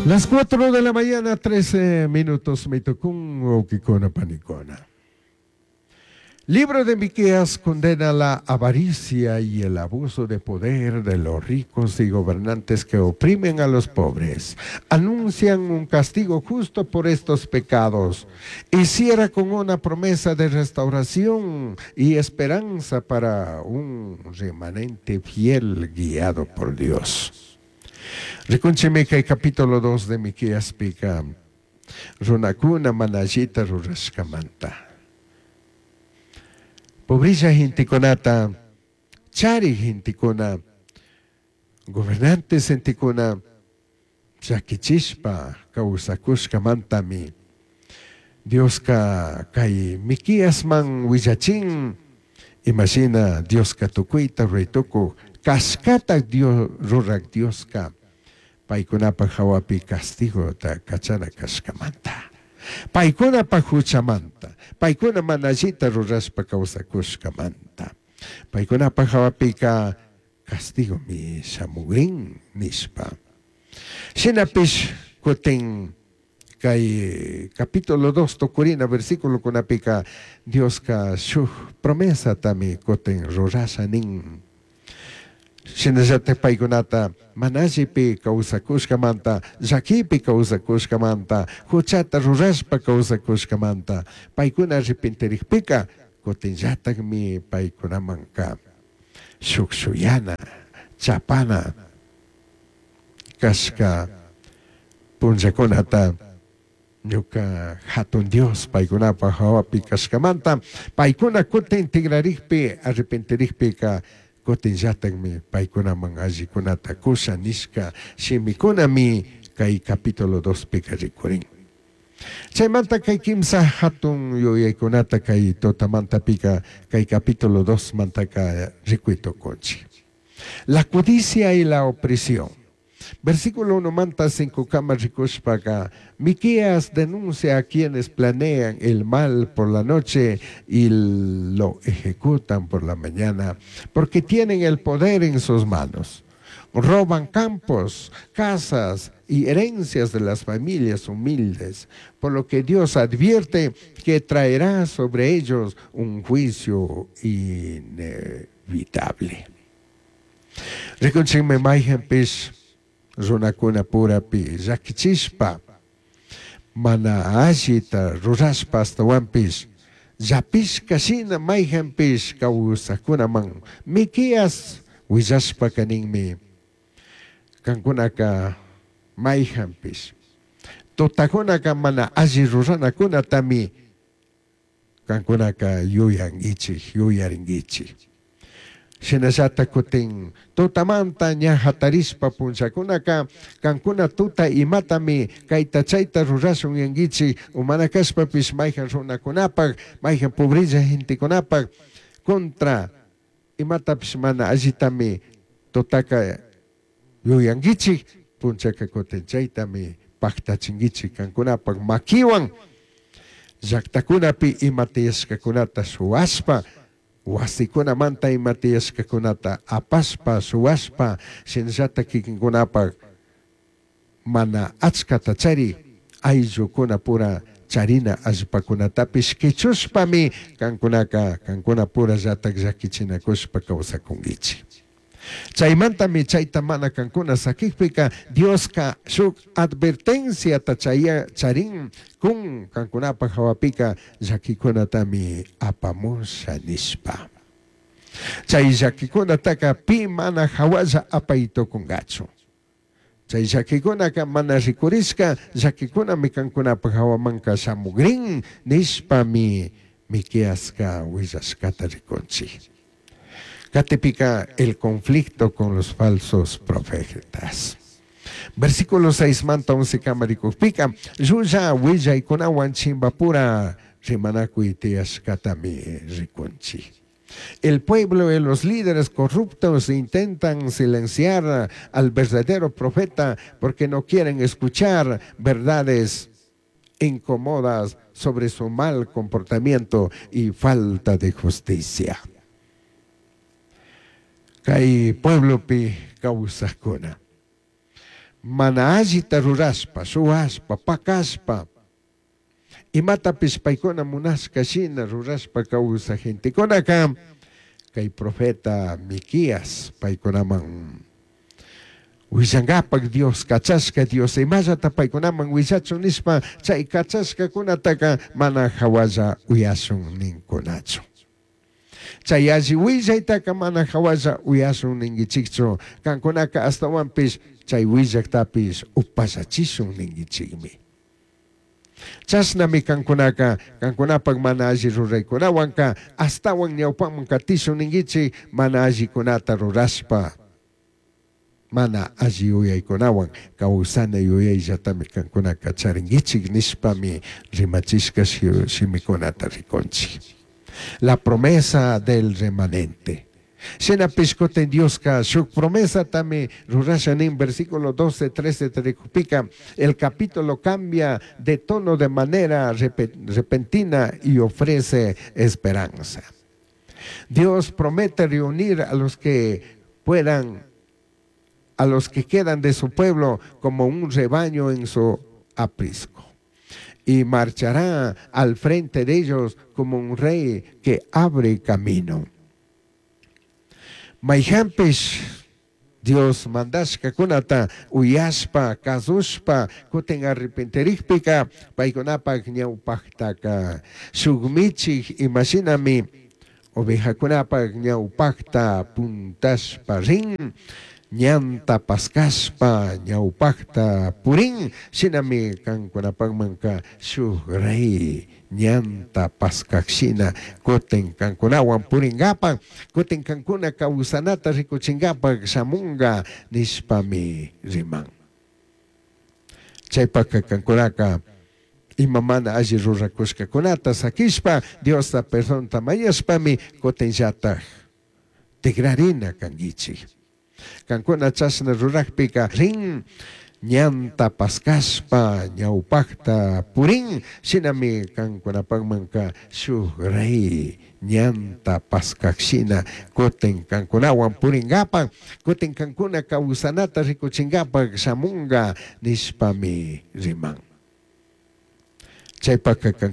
Las 4 de la mañana, 13 minutos, me tocó huauquicuna panicuna. Libro de Miqueas condena la avaricia y el abuso de poder de los ricos y gobernantes que oprimen a los pobres. Anuncian un castigo justo por estos pecados y cierra con una promesa de restauración y esperanza para un remanente fiel guiado por Dios. Rikunchimi kay capítulo 2 de Miqueaspica runakuna mana allita rurashkamanta. Pobrilla gentekunata, chari gentekuna, gobernantes gentekuna llaquichishpa kawsakushkamantami Dioska kay Miqueasman willachin imashina Dioska tukuyta ruray tukuj kashkata Dios rurak Dioska paykunapaj hawapi castigota kachana kashkamanta. Paykunapaj huchamanta, paykuna mana allita rurashpa kawsakushkamanta. Paykunapaj hawapika castigomi shamugrin nishpa. Shinapish kutin kay capítulo 2 tukurina versículokunapika Dioska shuk promesatami kutin rurasha nin. Shinallatak paykunata mana allipi kawsakushkamanta, llakipi kawsakushkamanta, huchata rurashpa kawsakushkamanta, paykuna arrepentirikpika kutinllatakmi paykunamanka shuk shuyana, chapana kashka punllakunata ñuka hatun Dios paykunapaj hawapi kashkamanta, paykuna kutin tigrarikpi, arrepentirikpika kutinllatakmi paykunaman allikunata kusha nishka shimikunami kay capítulo 2 pika rikurin. Chaymanta kay kimsa hatun yuyaykunata kay tutamantapika kay capítulo 2 mantaka rikuy tukunchik. La codicia y la opresión. Versículo 1 manta 5 kama rikushpaka, Miqueas denuncia a quienes planean el mal por la noche y lo ejecutan por la mañana, porque tienen el poder en sus manos. Roban campos, casas y herencias de las familias humildes, por lo que Dios advierte que traerá sobre ellos un juicio inevitable. Rikunchikmi mayhanpish runakuna purapi llakichishpa mana allita rurashpa ashtawanpish llapishka shina mayhanpish kawsakkunaman Miqueas willashpaka ninmi kankunaka mayhanpish tutakunaka mana alli ruranakunatami kankunaka yuyankichik yuyarinkichik. Shinallata kutin tutamanta ña hatarishpa punllakunaka kankuna tuta imatami kayta chayta rurashun yankichik o mana kashpapish mayhan runakunapak mayhan pobrilla gentekunapak contra imatapish mana allitami tutaka yuyankichik punchaka kutin chaytami paktachinkichik kankunapak makiwan llaktakunapi ima tiyashkakunata shuwashpa wasikunamanta ima tiyashkakunata apashpa shuwashpa shinallata kikinkunapak mana achkata chari ayllukunapura charina allpakunatapish kichushpami kankunaka kankunapura llatak llakichinakushpa kawsakunkichik. Chaymantami chayta mana kankuna sakikpika Dioska shuk advertenciata chaya charin kun kankunapaj hawapika llakikunatami apamusha nishpa. Chay llakikunataka pi mana hawalla apay tukunkachu. Chay llakikunaka mana rikurishka llakikunami kankunapaj hawamanka shamugrin nishpami Miqueaska willashkata rikunchik. Katipika el conflicto con los falsos profetas. Versículo 6 manta 11 kama rikukpika llulla willaykunawan chimbapura rimanakuy tiyashkatami rikunchik. El pueblo y los líderes corruptos intentan silenciar al verdadero profeta porque no quieren escuchar verdades incómodas sobre su mal comportamiento y falta de justicia. Kay pueblopi kawsakuna. Mana allita rurashpa, shuwashpa, pakashpa, imatapish paykuna munashka shina rurashpa kawsaj gentekunaka kay profeta Miquías paykunaman willankapak Dios kachashka, Dios imallata paykunaman willachun nishpa chay kachashkakunataka mana hawalla uyashun ninkunachu. Chay alli willaytaka mana hawalla uyashun ninkichikchu, kankunaka ashtawanpish chay willaktapish upallachishun ninkichikmi. Chashnami kankunaka kankunapak mana alli ruraykunawanka ashtawan ñawpaman katishun ninkichik mana allikunata rurashpa, mana alli yuyaykunawan kawsana yuyayllatami kankunaka charinkichik nishpami rimachishka shimikunata rikunchik. La promesa del remanente. Shinapish kutin Dioska shuk promesatami rurasha nin versículo 12, 13 rikupika, el capítulo cambia de tono de manera repentina y ofrece esperanza. Dios promete reunir a los que puedan, a los que quedan de su pueblo como un rebaño en su aprisco, y marchará al frente de ellos como un rey que abre camino. Mayhampish Dios mandashkakunata uyashpa, kazushpa, kutin arrepentirikpika paykunapak ñawpaqtaka shuk michik imashinami ovejakunapak ñawpaqta puntashpa rin, ñanta paskashpa ñawpaqta purin, shinami kankunapakmanka shuk rey ñanta paskakshina kutin kankunawan purinkapak, kutin kankuna kawsanata rikuchinkapak shamunga nishpami riman. Chaypaka kankunaka ima mana alli rurakushkakunata sakishpa Diosta perdonta mañashpami kutinllatak tigrarina kankichik. Kankuna chashna rurakpika rin ñanta paskashpa ñawpaqta purin, shinami kankunapakmanka shuk rey ñanta paskakshina kutin kankunawan purinkapak, kutin kankuna kawsanata rikuchinkapak shamunga nishpami riman. Chaypaka kankuna